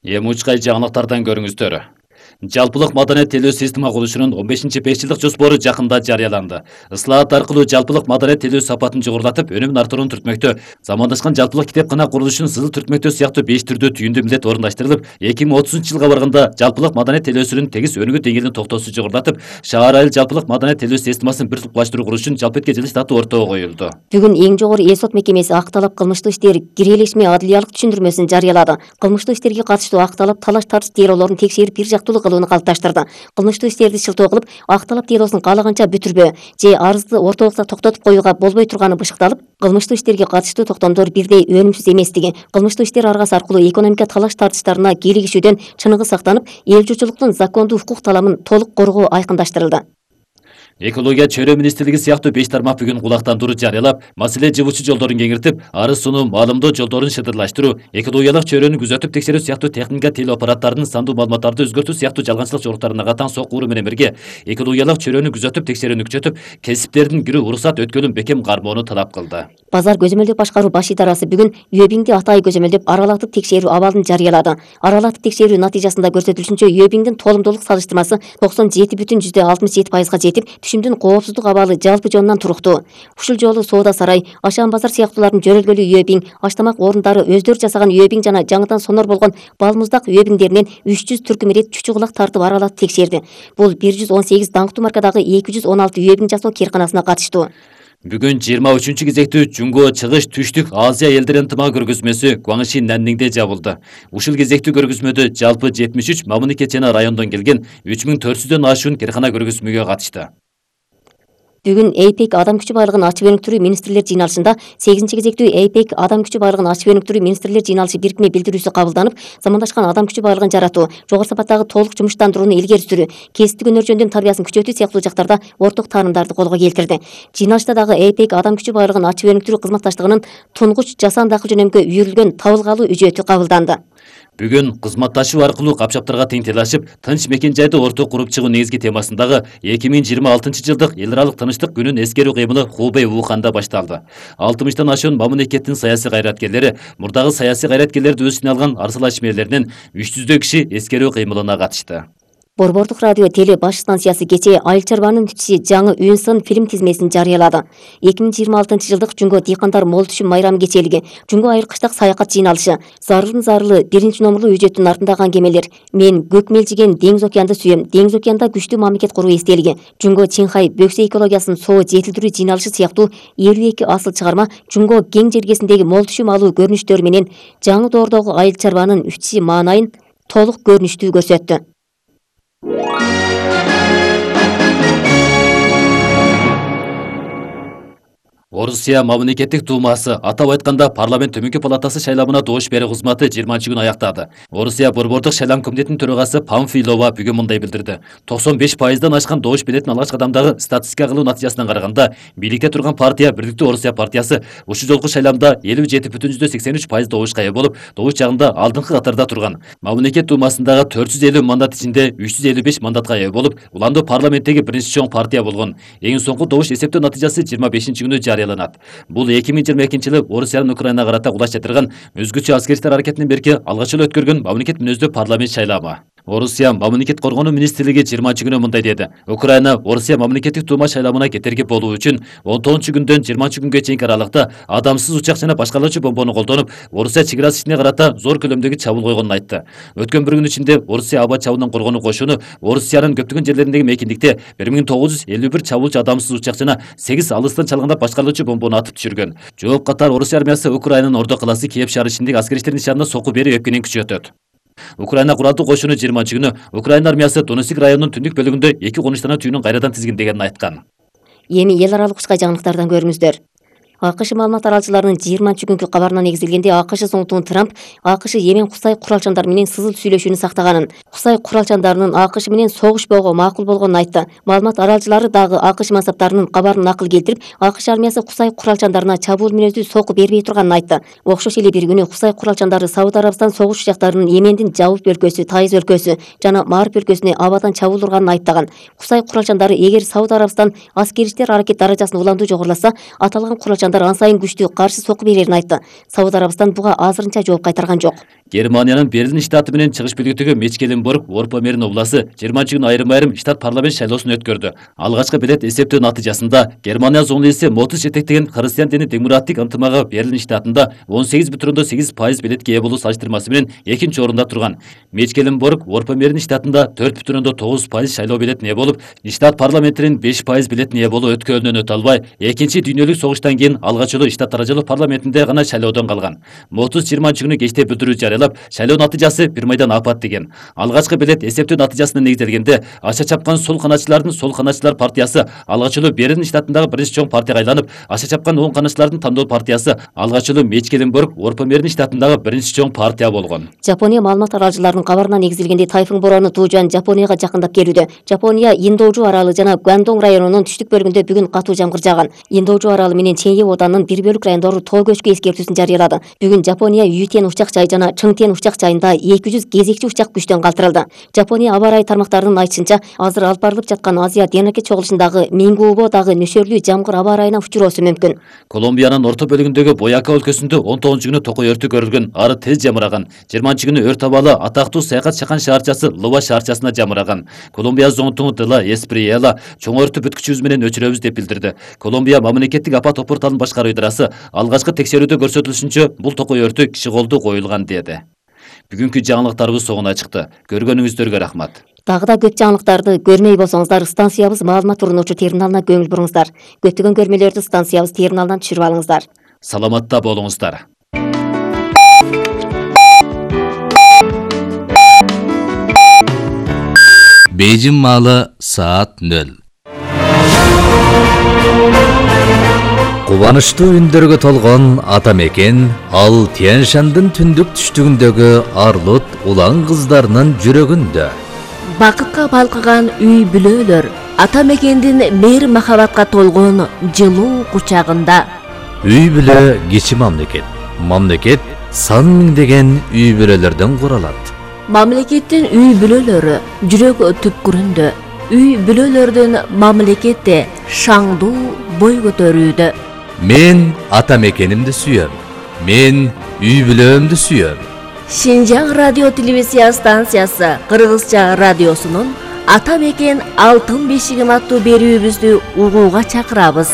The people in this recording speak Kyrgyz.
Эми учкай жаңылыктардан көрүңүздөр. Жалпылык маданият телөө система курулушунун 15-5 жылдык жоспору жакында жарыяланды. Ыслаат аркылуу жалпылык маданият телөө сапатын жогорулатып, өнүмүн арттырууну түртмөктө замандашкан жалпылык китепкана курулушунун сызыл түртмөктөө сыяктуу 5 түрдүү түйүндүү милдет орундаштырылып, 2030-жылга барганда жалпылык маданият телөөсүнүн тегиз өнүгүү деңгээлинин токтоосу жогорулатып, шаар айыл жалпылык маданият телөө системасын бир тупкулаштыруу курулушун жалпы этке жылыш даты ортого коюлду. Бүгүн эң жогору эл сот мекемеси ак талап кылмыштуу иштер кирелешме адылиялык түшүндүрмөсүн жарыялады. Кылмыштуу иштерге катыштуу ак талап талаш тартыш делолорун текшерип бир жактуулуу кылууну калыпташтырды. Кылмыштуу иштерди шылтоо кылып, ак талап делосун каалаганча бүтүрбө же арызды ортолукта токтотуп коюуга болбой турганы бышыкталып, кылмыштуу иштерге катыштуу токтомдор бирдей өнүмсүз эместиги, кылмыштуу иштер аргасы аркылуу экономика талаш тартыштарына кийлигишүүдөн чыныгы сактанып, эл журтчулуктун закондуу укук таламын толук коргоо айкындаштырылды. Экология чөйрө министрлиги сыяктуу 5 тармак бүгүн кулактандыруу жарыялап, маселе жыбучу жолдорун кеңиртип, арыз сунуу, маалымдоо жолдорун шыдырлаштыруу, экологиялык чөйрөнү күзөтүп текшерүү сыяктуу техника теле аппараттарынын сандуу маалыматтарды өзгөртүү сыяктуу жалганчылык жоруктарына катаң соккуруу менен бирге, экологиялык чөйрөнү күзөтүп текшерүүнү күчөтүп, кесиптердин кирүү уруксат өткөлүн бекем кармоону талап кылды. Базар көзөмөлдөп башкаруу баш идарасы бүгүн Үөбиңди атайы көзөмөлдөп аралатып текшерүү абалын жарыялады. Аралатып текшерүү натыйжасында көрсөтүлүшүнчө Үөбиңдин толумдуулук салыштырмасы 97,67%га жетип, түшүмдүн коопсуздук абалы жалпы жонунан туруктуу. Ушул жолу Соода сарай, Ашан базар сыяктуулардын жөрөлгөлүү Үөбиң, аштамак орундары өздөрү жасаган Үөбиң жана жаңыдан сонор болгон балмуздак Үөбиңдеринен 300 түркүм ирет чүчү кулак тартып аралатып текшерди. Бул 118 даңктуу маркадагы 216 Үөбиң жасоо кээрканасына катыштуу. Бүгүн 23-кезектүү Жунго чыгыш түштүк Азия элдеринин ынтымак көргөзмөсү Гуаңши Нанниңде жабылды. Ушул кезектүү көргөзмөдө жалпы 73 мамлекет жана райондон келген 3400дөн ашуун кээркана көргөзмөгө катышты. Бүгүн ЭйПЕК адам күчү байлыгын ачып өнүктүрүү министрлер жыйналышында 8-кезектүү ЭйПЕК адам күчү байлыгын ачып өнүктүрүү министрлер жыйналышы бирикме билдирүүсү кабылданып, замандашкан адам күчү байлыгын жаратуу, жогору сапаттагы толук жумуштандырууну илгери сүрүү, кесиптик өнөр жөндөм тарбиясын күчөтүү сыяктуу жактарда орток таанымдарды колго келтирди. Жыйналышта дагы ЭйПЕК адам күчү байлыгын ачып өнүктүрүү кызматташтыгынын тунгуч жасанды акыл жөнөмгө үйрүлгөн табылгалуу үжөтү кабылданды. Бүгүн кызматташуу аркылуу капчаптарга тең тилашып, тынч мекен жайды орток куруп чыгуу негизги темасындагы 2026-жылдык эл аралык тынчтык күнүн эскерүү кыймылы Хубэй Уханда башталды. 60тан ашуун мамлекеттин саясий кайраткерлери, мурдагы саясий кайраткерлерди өз ичине алган Арсыл Ашмерлеринен 300 киши эскерүү кыймылына катышты. Борбордук радио теле баш станциясы кечээ Айыл чарбанын түтүшү жаңы үн-сын фильм тизмесин жарыялады. 2026-жылдык Жунго дыйкандар мол түшүм майрамы кечээлиги, Жунго айыл кыштак саякат жыйналышы, Зарылдын зарылы биринчи номерлуу үжөттүн артындагы аңгемелер, Мен көк мелжиген деңиз океанды сүйөм, деңиз океанда күчтүү мамлекет куруу эстелиги, Жунго Чинхай бөксө экологиясын соо жетилдирүү жыйналышы сыяктуу 52 асыл чыгарма Жунго кең жергесиндеги мол түшүм алуу көрүнүштөрү менен жаңы доордогу айыл чарбанын үчи маанайын толук көрүнүштүү көрсөттү. Орусия мамлекеттик думасы, атап айтканда парламент төмөнкү палатасы шайлоомуна добуш берүү кызматы 20-күнү аяктады. Орусия борбордук шайлоом комитетинин төрагасы Памфилова бүгүн мындай билдирди. 95%дан ашкан добуш беретин алгачкы адамдагы статистика кылуу натыйжасынан караганда, бийликте турган партия Бирдиктүү Орусия партиясы ушул жолку шайлоомдо 57,83% добушка ээ болуп, добуш жагында алдыңкы катарда турган. Мамлекет думасындагы 450 мандат ичинде 355 мандатка ээ болуп, уландуу парламенттеги биринчи чоң партия болгон. Эң соңку добуш эсептөө натыйжасы 25-күнү жарыяланат. Бул 2022-жылы Орусиянын Украинага карата кулаш жатырган өзгөчө аскер иштер аракетинен берки алгач эле өткөргөн мамлекет мүнөздүү парламент шайлоому. Орусия мамлекет коргонуу министрлиги 20-күнү мындай деди. Украина Орусия мамлекеттик дума шайлоомуна кетерги болуу үчүн 19-күндөн 20-күнгө чейинки аралыкта адамсыз учак жана башкалоочу бомбону колдонуп, Орусия чек арасы ичине карата зор көлөмдөгү чабуул койгонун айтты. Өткөн бір күн ичинде Орусия аба чабуулунан коргонуу кошуну Орусиянын көптөгөн жерлериндеги мекендикте 1951 чабуулчу адамсыз учак жана 8 алыстан чалгандап башкалоочу бомбону атып түшүргөн. Жооп катар Орусия армиясы Украинанын ордо калаасы Киев шаары ичиндеги аскер иштердин нишанына сокку берүү эпкенин күчөтөт. Украина куралдуу кошуну 20-күнү Украина армиясы Донецк районунун түндүк бөлүгүндө 2 конуштана түйүнүн кайрадан тизгиндегенин айткан. Эми эл аралык учкай жаңылыктардан көрүңүздөр. АКШ маалымат аралчыларынын 20-күnkү кабарына негизделгенде АКШ соңтугун Трамп АКШ Йемен Кусай куралчандар менен сызыл сүйлөшүүнү сактаганын, Кусай куралчандарынын АКШ менен согушпоого макул болгонун айтты. Маалымат аралчылары дагы АКШ мансаптарынын кабарын накыл келтирип, АКШ армиясы Кусай куралчандарына чабуул мүнөздүү сокку бербей турганын айтты. Окшош эле бир күнү Кусай куралчандары Сауд Арабстан согуш учактарынын Йемендин Жабуп өлкөсү, Тайыз өлкөсү жана Мариб өлкөсүнө абадан чабуул урганын айттаган. Кусай куралчандары эгер Сауд Арабстан аскер иштер аракет даражасын уламдуу жогоруласа, аталган куралчандар качандар ан сайын күчтүү каршы сокку берерин айтты. Сауд Арабистан буга азырынча жооп кайтарган жок. Германиянын Берлин штаты менен чыгыш бөлүгүндөгү Мечкеленбург Орпа-Мерин областы 20 күнү айрым штат парламент шайлоосун өткөрдү. Алгачкы белет эсептөө натыйжасында Германия зоңлуусу Мотус жетектеген Христиан дини демократик ынтымагы Берлин штатында 18,8% белетке ээ болуу салыштырмасы менен экинчи орунда турган. Мечкеленбург Орпа-Мерин штатында 4,9% шайлоо белетине ээ болуп, штат парламентинин 5% белетине ээ болуу өткөнүнөн өтө албай, экинчи дүйнөлүк согуштан кийин алгач эле штат даражалуу парламентинде гана шайлоодон калган. Мотус 20 күнү кечте билдирүү жарыялап, шайлоо натыйжасы бир майдан апат деген. Алгачкы белет эсептөө натыйжасына негизделгенде, аша чапкан сол канатчылардын Сол канатчылар партиясы алгач эле Берлин штатындагы биринчи чоң партияга айланып, аша чапкан оң канатчылардын тандоо партиясы алгач эле Мечкеленбург Орпа-Мерин штатындагы биринчи чоң партия болгон. Жапония маалымат аралчыларынын кабарына негизделгенде тайфун бороону Туужан Жапонияга жакындап келүүдө. Жапония Индоужу аралы жана Гвандонг районунун түштүк бөлүгүндө бүгүн катуу жамгыр жааган. Индоужу аралы менен Ченье оданынын бир бөлүк райондору тоо көчкү эскертүүсүн жарыялады. Бүгүн Жапония Ютен учак жай жана Чыңтен учак жайында 200 кезекчи учак күчтөн калтырылды. Жапония аба ырайы тармактарынын айтышынча, азыр алып барылып жаткан Азия Денеке чогулушундагы Мингуубо дагы нөшөрлүү жамгыр аба ырайына учуроосу мүмкүн. Колумбиянын орто бөлүгүндөгү Бояка өлкөсүндө 19 күнү токой өртү көрүлгөн, ары тез жамыраган. 20 күнү өрт абалы атактуу саякат чакан шаарчасы Лова шаарчасына жамыраган. Колумбия зонтугу Дела Эсприела чоң өрттү бүткүчүбүз менен өчүрөбүз деп билдирди. Колумбия мамлекеттик апат опорталын башкаруу ыдырасы алгачкы текшерүүдө көрсөтүлүшүнчө бул токой өртү киши колду коюлган деди. Бүгүнкү жаңылыктарыбыз соңуна чыкты. Көргөнүңүздөргө рахмат. Дагы да көп жаңылыктарды көрмөй болсоңуздар, станциябыз маалымат урунуучу терминалына көңүл буруңуздар. Көптөгөн көрмөлөрдү станциябыз терминалынан түшүрүп алыңыздар. Саламатта болуңуздар. Бейжин маалы саат 0. Кубанычтуу үндөргө толгон ата мекен ал Тянь-Шандын түндүк түштүгүндөгү Арлут улан кыздарынын жүрөгүндө. Бакытка балкыган үй бүлөлөр ата мекендин мейир махабатка толгон жылуу кучагында. Үй бүлө кичи мамлекет. Мамлекет сан миңдеген үй бүлөлөрдөн куралат. Мамлекеттин үй бүлөлөрү жүрөк түпкүрүндө. Үй бүлөлөрдүн мамлекетте шаңдуу бой көтөрүүдө. Мен ата мекенимди сүйөм. Мен үй бүлөмдү сүйөм. Шинжаң радио телевизия станциясы Кыргызча радиосунун Ата мекен алтын бешигим аттуу берүүбүздү угууга чакырабыз.